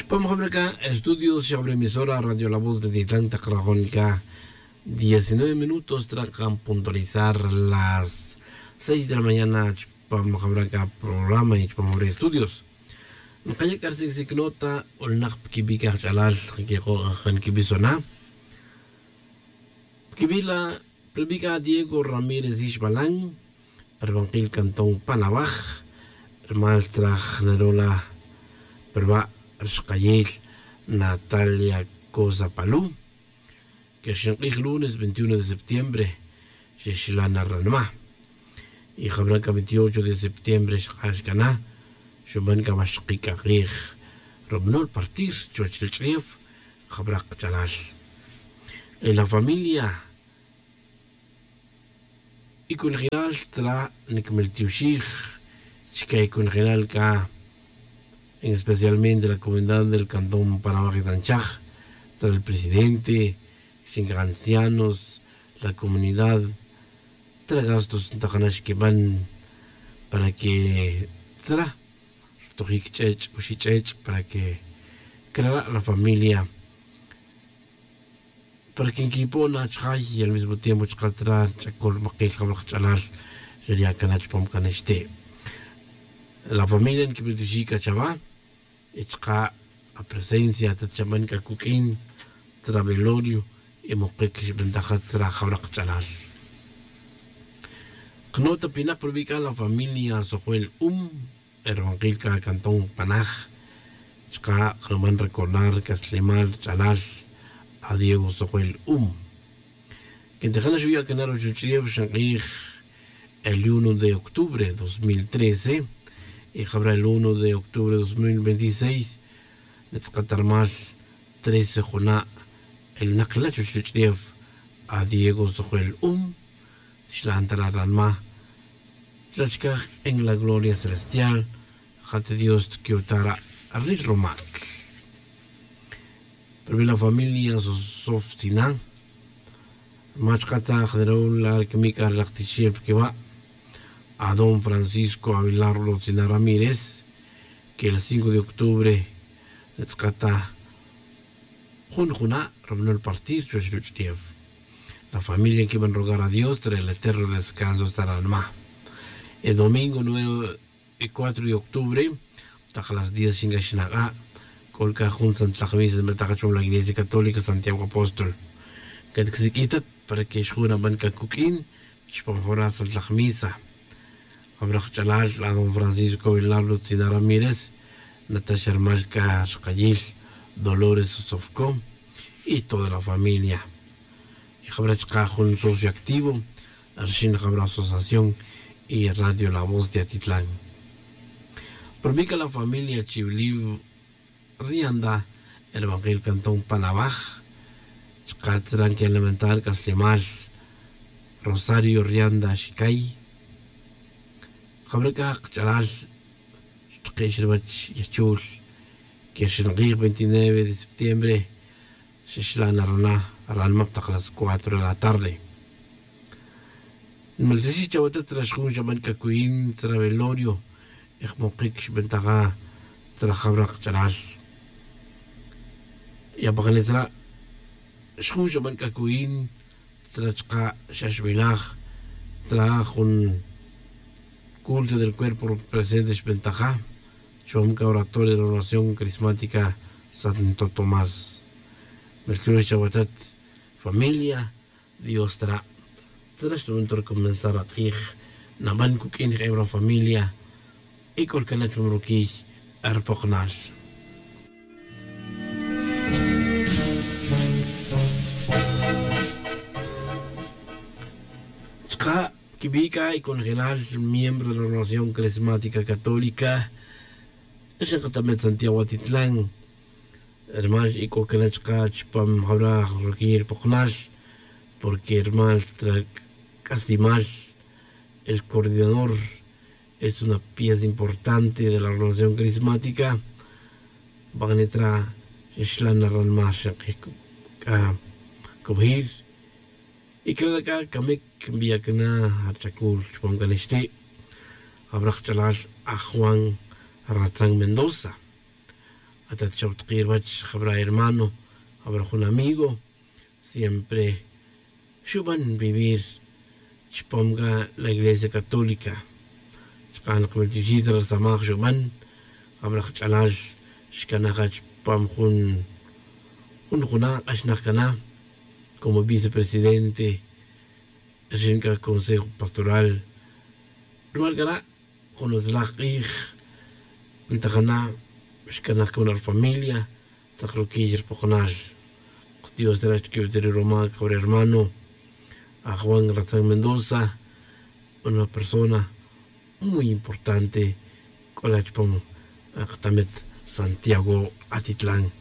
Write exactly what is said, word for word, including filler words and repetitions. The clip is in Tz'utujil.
Pam jabra c'a estudios xabra emisora radio la voz de titlan tak rajon c'a diecinueve minutos trakan puntualizar las seis de la mañana. Chupam jabra c'a programa y chupam jabra estudios nkaya' c'a rsic sic nota. Olnak piquibi' c'a jach'alal nquik'o' kan quibisona. Piquibi' la pribi' c'a diego ramírez yixbalan, ribankil cantón panawaj, rimal tzraj nerola priba' rixkayil natalia cosa palu. Que rxink'ij lunes veintiuno de septiembre xixlan ri ranma. Y jabra' c'a veintiocho de septiembre xk'ax c'a na xuban c'a va xkik'akij rubanol partir chuwech ri ch'ev. Jabra' kach'alal y la familia y conojilal tra' niquimiltioxij chica y conojilal c'a en especialmente la comunidad del cantón panawaj y tanchaj, tra' el presidente, chica ancianos, la comunidad, tra' gastos ntakana' xquiban para que tra' rtojic ch'ech' oxi' ch'ech' para que crara' la familia para que nquipo' na chajay y al mismo tiempo chaka' tra ch'acol makil jabra' kach'alal. Xeria' cana' chupam cana' xte' la familia niquipetixi' c'a chava y chaka' apresencia tat xaban c'a cuq'uin tra velorio y mokic xbentaja tra jabra' kach'alal. Knota pinak provical la familia sojuel um, herbankil c'a cantón panaj chka' ruman recordar c'aslemal rch'alal a diego sojuel um. Quintijana xuya' cana' ruchuch'ev xnk'ij el uno de octubre dos mil trece y jabra el uno de octubre dos mil veintiséis nitz'ka' ta rumal trece juna' el nakila' chuchuch'ev a diego sojuel um. Xlan ta ra' ranma' chachcaj en la gloria celestial. Jat dios tquiu ta ra' ril rumac. Pero wi la familia sosof tzina mach katzaj neraw la rquimic' a rilak tichel piquiwa'. A don francisco avilarlo tzina ramírez que el cinco de octubre nitz'ka' ta jun juna' rubanol partir chuwech ruch'ev. La familia nquiban rogar a dios tre el eterno descanso ta ranma'. El domingo nueve y cuatro de octubre tak las diez xincaxnak'a' c'o c'a jun santlaj misa nbetak chupam la iglesia católica santiago apóstol. C'a ticsiq'uitat para que xjun aban c'a cuq'uin chupam jabra' santlaj misa. Jabra' kach'alal a don francisco avilarlo tzina ramírez natax rumal c'a rxkayil dolores sosofco y toda la familia. Y jabra' chka' jun socio activo rxin jabra' asociación y radio la voz de atitlan. Pero wi c'a la familia chiwiliw rianda herbankil cantón panawaj chka' tzra' nquelamentar c'aslemal rosario rianda xicay. Jabra' c'a kach'alal xtkex ruwech yachul que rxinq'ij veintinueve de septiembre xixlan na rana' ranma' tak las cuatro de la tarde. Nmaltixix chawatat tzra' xjun xaban c'a cuyin tzra' velorio y jmokic xbentaja tzra' jabra' kach'alal. Y apakane tzra' xjun xaban c'a cuyin tzra' chka' xa xbilaj tzra' jun culto del cuerpo presente xbentaja chupam c'a oratorio de la oración carismática santo tomás. Melchul chawatat familia dios tzra' tzra' xtuban ta recomenzar ak'ij naban cuq'uin jeb ra familia. Y c'o rcana' chupam ruquiy rpoknal chka' quibi' c'a y conojelal miembro de la ordenación carismática católica. Xenkatamet santiago atitlan rumal y c'o cana' chka' chupam jabra' ruquiy rpoknal porque rumal tra c'aslimal el coordinador es una pieza importante de la ordenación carismática. Bak'ane tra' xixlan na ranma' xenk'ij c'a cubajir y cana' c'a camic nbiya' cana' rch'acul chupam c'a nixti'. Jabra' kach'alal a juan ratzan mendoza. atat chop tki' ruwach jabra hermano, jabra jun amigo, siempre xuban vivir chupam ca la iglesia católica. Chka' nak mil tiuxis ra rsamaj xuban jabra jach'alal xcana ja chupam jun jun juna' k'axnaj cana como vicepresidente rixin c'a consejo pastoral. Rumal c'a ra' jun utzlaj k'ij ntajana xcanaj cana rufamilia tak ruquiy rupokonal. Dios rach que utiri roma c'a re hermano ajwan ratzan mendoza, una persona muy importante c'o la chupam katamet santiago atitlan.